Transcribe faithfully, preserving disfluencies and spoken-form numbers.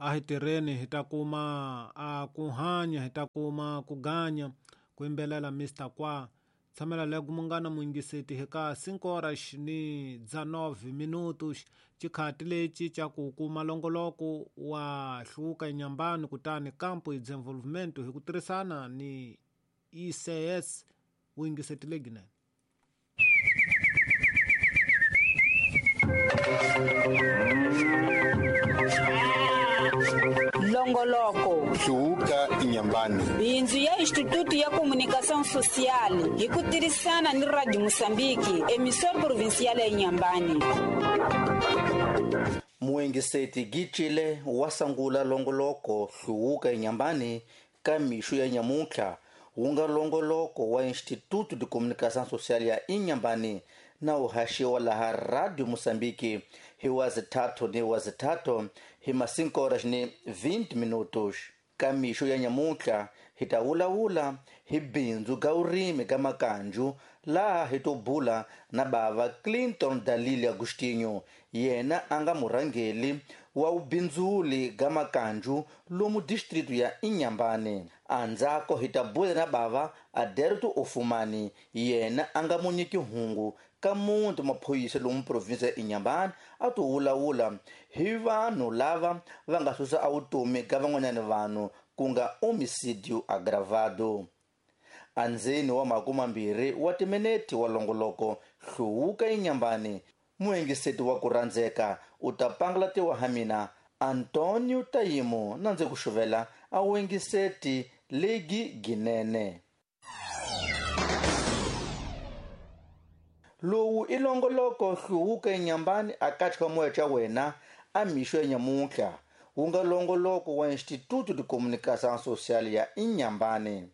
A hi tirheni hi ta kuma a ku hanya, hi ta kuma ku ganya, ku yimbelela Mister Kwa. Tshamela lego munghana muyingiseti hika cinco horas ni dezenove minutos, xikhati lexi xa ku kuma longoloko wa Hluvuka eNyambani kutani Campo e Desenvolvimento hi ku tirhisana ni I C S vuyingiseti lebyinene. Longoloko Hluvuka Inyambani, bindzu ya Instituto ya Comunicação Social hi ku tirhisana ni Radio Moçambique, emissora provincial ya Inhambane. Muengiseti Gitshile wa sangula longoloko Hluvuka Inyambani ka mixo ya nyamuntlha wu nga longoloko wa Instituto de Comunicação Social ya Inhambane na wu haxiwa laha Radio Moçambique hi wa zithathu ni wa zithathu hi ma cinco horas ni vinte minutos. Ka mixo ya nyamuntlha hi ta vulavula hi bindzu ga vurimi ga makanju, laha hi to bula na bava Clinton Dalile Agostinho, yena a nga murhangeli wa vubindzuli ga makanju lomu distritu ya Inhambane. Andzako hi ta bula na bava Aderto Ofumani, yena a nga munyiki hungu ka muti maphorisa lomu province ya Inhambane, a to vulavula hi vanhu lava va nga susa a vutomi ka van'wanyana vanhu ku nga homicidio agravado. Andzeni wa makume mambirhi wa timinete wa longoloko Hluvuka Inyambani, muengiseti wa ku rhandzeka u ta pangalatiwa ha mina Antonio Tayimo na ndzi ku xuvela a wengiseti legi ginene. Lowu i longoloko Hluvuka Inyambani a katsha moya xa wena a mixo ya nyamuntlha wu nga longoloko wa Instituto de Comunicação Social ya Inhambane.